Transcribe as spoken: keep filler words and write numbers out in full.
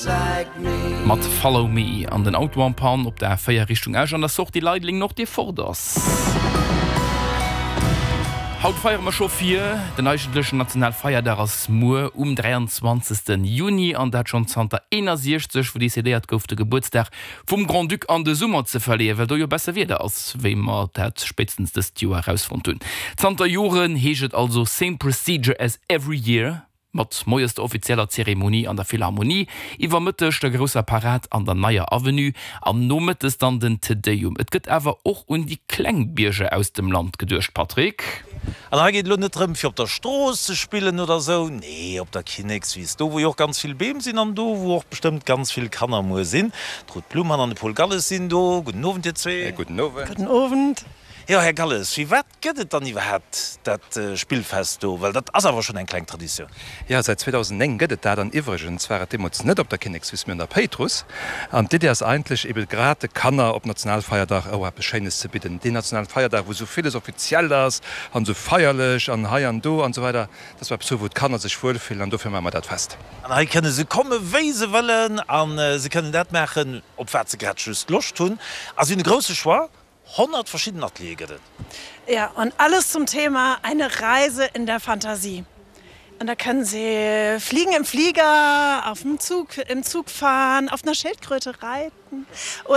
Mat Follow Me an den Auto en panne op der A véier Richtung Esch an der Sortie Leideleng Nord dee fort ass. Haut feiere mer scho vir, den eigentlechen Nationalfeierdag ass muer um dräianzwanzegste Juni an dat schonn zanter eenasiechzeg, wou decidéiert gouf de Gebuertsdag vum Grand-Duc an de Summer ze verleeën, well do jo besser Wieder ass, wéi mer dat spéitstens dëst Joer erausfonnt hunn. Zanter Joren heescht et also same procedure as every year, mat moies der offizieller Zeremonie an der Philharmonie, iwwer Mëtteg der grousser Parad an der Neier Avenue an nomëttes dann den Te Deum. Et gëtt awer och un déi kleng Bierger aus dem Land geduecht, Patrick. An hei geet et elo net drëm fir op der Strooss ze spillen oder sou, nee op der Kinnekswiss, do wou jo och ganz vill Beem sinn an do wou och bestëmmt ganz vill Kanner muer sinn. D'Ruth Blumann an de Paul Galles sinn do. Gudden Owend dir zwee. Gudden Owend. Gudden Owend. Jo, Här Galles, firwat gëtt et dann iwwerhaapt dat Spillfest do? Well dat ass awer schonn eng kleng Traditioun. Jo, säit zweedausendnéng gëtt et dat. An iwwregens war et deemools net op der Kinnekswiss, mee an der Péitruss. An d'Iddi ass eigentlech ebe grad de Kanner op Nationalfeierdag och eppes Schéines ze bidden. Deen Nationalfeierdag, wou esou villes offiziell ass an esou feierlech an hei an do an esou weider, dass mer eppes hu wou d'Kanner sech wuelfillen an dofir maache mer dat Fest. An hei kënne se komme wéi se wëllen a se kënnen dat maachen, op wat se grad just Loscht hunn. A si hunn e grousse Choix. Honnert verschidden Ateliere gëtt et. Ja, und alles zum Thema eine Reise in der Fantasie. Und da können sie fliegen im Flieger, auf dem Zug, im Zug fahren, auf einer Schildkröte reiten.